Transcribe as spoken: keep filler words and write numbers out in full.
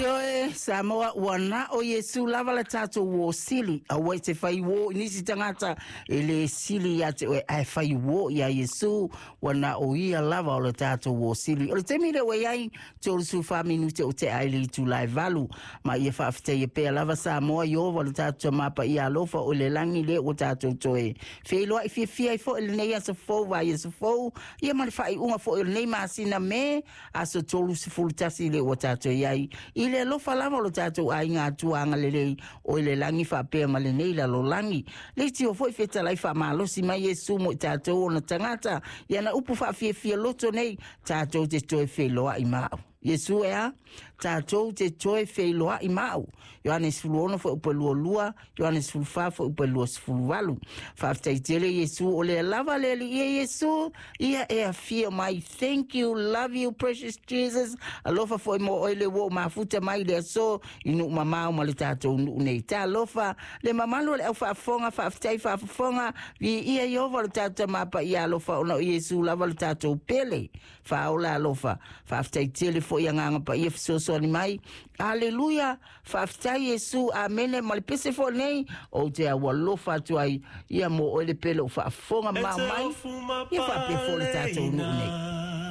Ioe, Samoa, ua na o Iesu lava le tatou uō sili. Aua e te fai uō i nisi tagata e lē sili ia te oe, ae fai uō iā Iesu, ua na o ia lava o le tatou uō sili. O le taimi lea ua i ai, tolu fa minute o tea i le itula e valu. Ma ia faafetaia pea lava Samoa Ieova le tatou Tamā paia alofa o le lagi lea ua tatou toe feiloai fiafia ai foi i lenei aso fou vaiaso fou, ia ma le faaiuga foi o lenei masina Me, aso tolu sefulu tasi lea ua tatou i ai. I le alofa lava o lo tatou aiga Atua agalelei o i le lagi faapea ma lenei lalolagi. Leitio foi fetalai faamalosi mai Iesu mo i tatou ona tagata, i ana upu faafiafia loto nei, tatou te toe feiloai ma au. Iesu e a, tatou te toe feiloai ma au. Ioane sefulu ono fuaiupu e lua lua, Ioane sefulu fa fuaiupu e lua sefulu valu. Faafetai tele Iesu, o lea lava le Alii e Iesu, ia e afio mai. Thank you, love you, precious Jesus. Alofa foi mo oe le ua ou mafuta mai i le aso i nuu mamao ma le tatou nuu nei. Talofa, le mamalu o le au faafofoga, faafetai faafofoga, viia Ieova le tatou Tamā paia alofa ona o Iesu lava le tatou pele. Faaola alofa, faafetai tele foi agaga paia fesoasoani mai. Aleluia, faafetai Iesu, amene. Ma le pese foi nei, ou te aualofa atu ai, ia mo oe le pele o faafofoga E mao te mai, ofu ia faapea foi le tatou nuu nei. mapaleina.